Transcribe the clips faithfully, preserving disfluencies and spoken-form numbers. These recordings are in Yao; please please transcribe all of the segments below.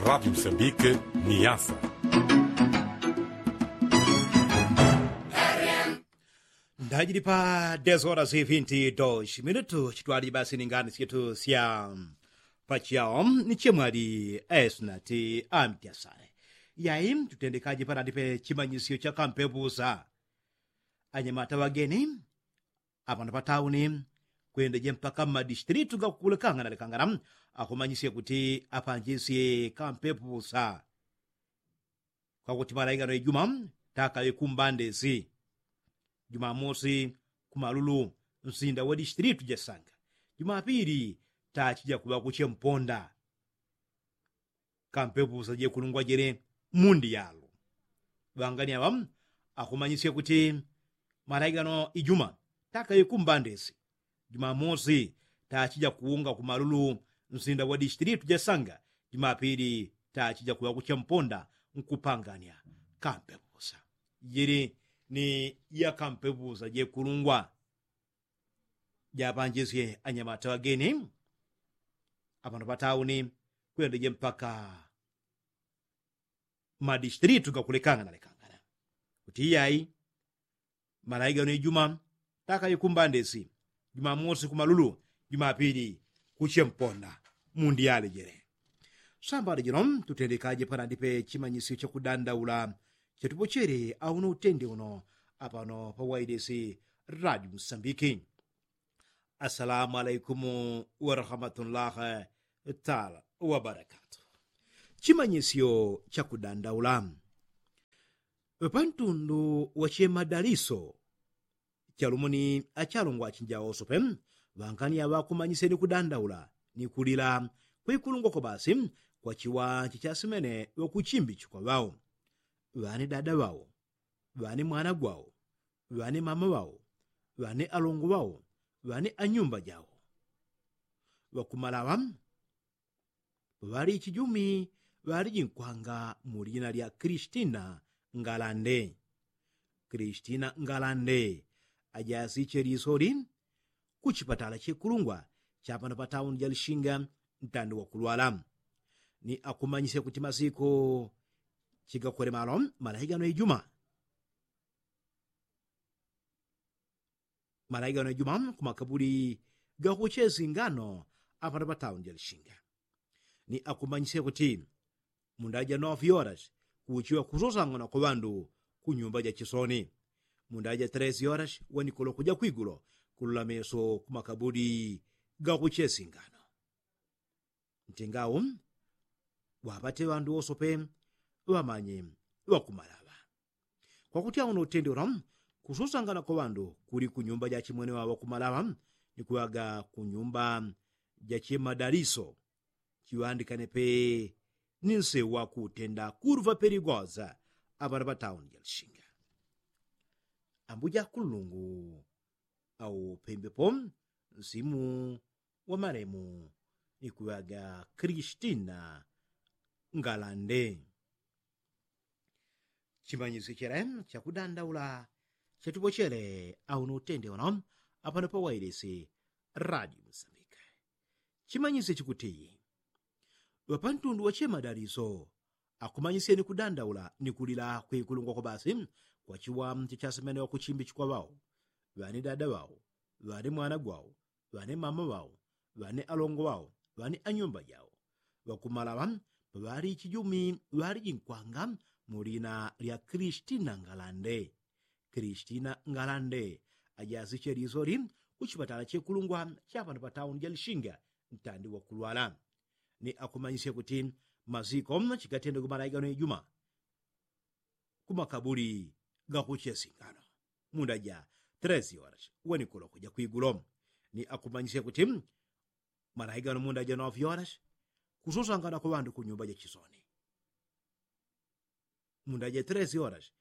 Radi msambike ni yasa. Ndajili pa dez horas vinti dos minutu chitwaliji basi ni ngani syetu sya pachao ni chemwali esnati amtyasale. Yai tutendekaji panandipe chimanyisyo cha kampepusa. Anyamata wageni apano patauni kwendeje mpaka mmadistilitu gakukulekangana lekangana akumanyisye kuti apanjisye kampepusa. Kwakuti malaigano ijuma takaŵe kumbandesi. Jumamosi kumalulu nsinda wa distilitu jasanga. Jumapili tachija kuŵa kuche mponda kampepusa jekulungwa jele mundi yalo. Ŵangani aŵa akumanyisye kuti malaigano ijuma takaŵe kumbandesi. Jumamosi tachija kuunga kumalulu nsinda wa distilitu jasanga. Jumapili tachija kuŵa kuche mponda nkupangania kampepusa. Jili ni ya kampepusa jekulungwa japanjisye anyamata wageni apano patauni kwendeje mpaka madistilitu gakulekangana lekangana kuti iyai malaigano ijuma takaikumbandesi. Jumamosi kumalulu, jumapili kuche mponda mundi yalejele. Sambali jino tutendekaje panandipe chimanyisyo chakudandaula chetupochele auno utende uno apano pa wailesi radi msambiki. Assalamu alaikumu warahmatullahi taala wabarakatu. Chimanyisyo chakudandaula pantundu wachemadaliso chalumuni achalungwa achinja osope ŵangani aŵakumanyisye ni kudandaula ni kulila kwikulungwa kwa basi kwa chiwanji chasimene ŵakuchimbichikwa ŵao ŵani dada ŵao ŵani mwana gwao ŵani mama ŵao ŵani alongo ŵao ŵani anyumba jao. Ŵakumalaŵa ŵali ichijumi ŵaliji nkwanga mu lina lya kristina ngalande. Kristina ngalande ajasiche lisoli kuchipatala chekulungwa chapano patauni ja lishinga ntandi wakulwala ni akumanyisya kuti masiku chigakwele malo malaigano ijuma malaigano ijuma kumakabuli gakuchesi ngano apano patauni ja lishinga. Ni akumanyisya kuti mundaja nofi horas kuchiwa kusosangana kwa ŵandu kunyumba ja chisoni. Mundaja tres horas wanikulo kuja kwigulo kulula meso kumakabuli gakuchesi ngano. Ntingau ŵapate ŵandu wosope ŵamanye ŵakumalaŵa. Kwakuti auno utende ula kususangana kwa ŵandu kuli kunyumba ja chimwene waŵa kumalaŵa ni kuŵaga kunyumba ja chimadaliso chiŵandikane pe ni nsewu wakutenda kurva peligoza. Aŵana ŵa tauni ja lishinga ambuja kulungu au pembepo nsimu wa malemu ni kuŵaga kristina ngalande. Chimanyisyo chele chakudandaula chatupochele auno utende uno apano pa wailisi radio musambika. Chimanyisyo chikutiyi ŵapantundu wa chemadaliso akumanyisyeni kudandaula ni kulila kwikulungwa kwa basi kwa chiwamche chasemene wakuchimbichikwa ŵao ŵani dada ŵao ŵani mwana gwao ŵani mama ŵao ŵani alongo ŵao ŵani anyumba jao ŵakumalaŵa paŵali ichijumi ŵaliji nkwanga mu lina lya kristina ngalande. Kristina ngalande ajasiche lisoli kuchipatala chekulungwa chapano pa tauni ja lishinga ntandi wakulwala. Ni akumanyisye kuti masiko chigatende kumalaigano ijuma kumakabuli gakuchesingano munda ja tres horas wenikulo kuja kwigulo. Ni akumanyisye kuti malaigano munda ja nofi horas kususangana kwa ŵandu kunyumba ja chisoni munda ja tres horas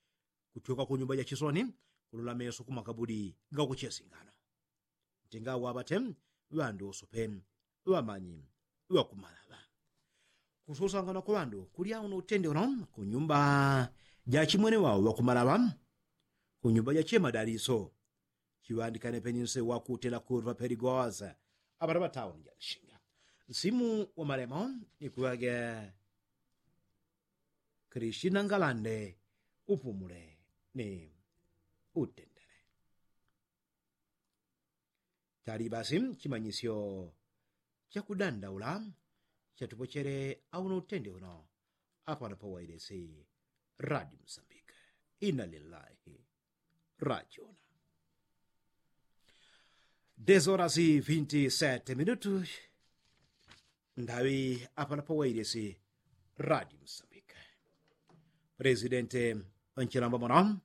kutyoka kunyumba ja chisoni kulula meso kumakabuli gakuchesingano. Ntinga ŵapate ŵandu usupe ŵamanyi ŵakumalaŵa kususangana kwa ŵandu kulya uno utende uno kunyumba ja chimwene ŵao ŵakumalaŵa kunyumba ja chemadaliso chiŵandikane penyi nse wakutela kurva peligoza. Aŵana ŵa tauni ja lishinga nsimu wa malemo ni kuŵaga Kristina ngalande upumule ni utendele. Chali basi chimanyisyo chakudandaula chatupochele auno utende uno apano pawailesi radi msambike. Ina lillahi rajuna. Desorasi vinti sete minutu ndawi apano pawailesi radi msambike. Presidente nchilamba mono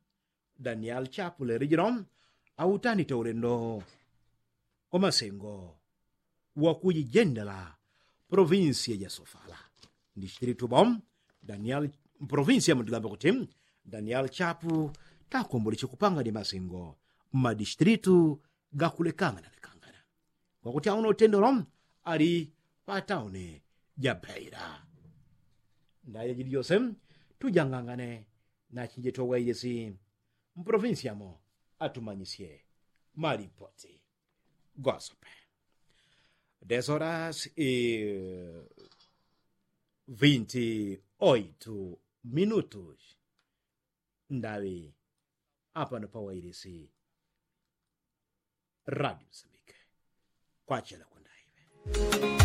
daniel chapu leli jino autanite ulendo wamasengo wakujijendela provinsia ja sofala. Ndichitilitu bo daniel provinsia mutilamba kuti daniel chapu takomboleche kupanga ni masengo mmadichitilitu gakulekangana lekangana. Kwakuti auno utendolo ali patauni ja beila. Ndaye jili jose tujangangane nachinje togwaijesi mprovinsiamo atumanyisye malipoti. Gosope desoras i vinti oitu minutus ndawi apano pawailisi radi msambike. Kwachela kwandaiwe.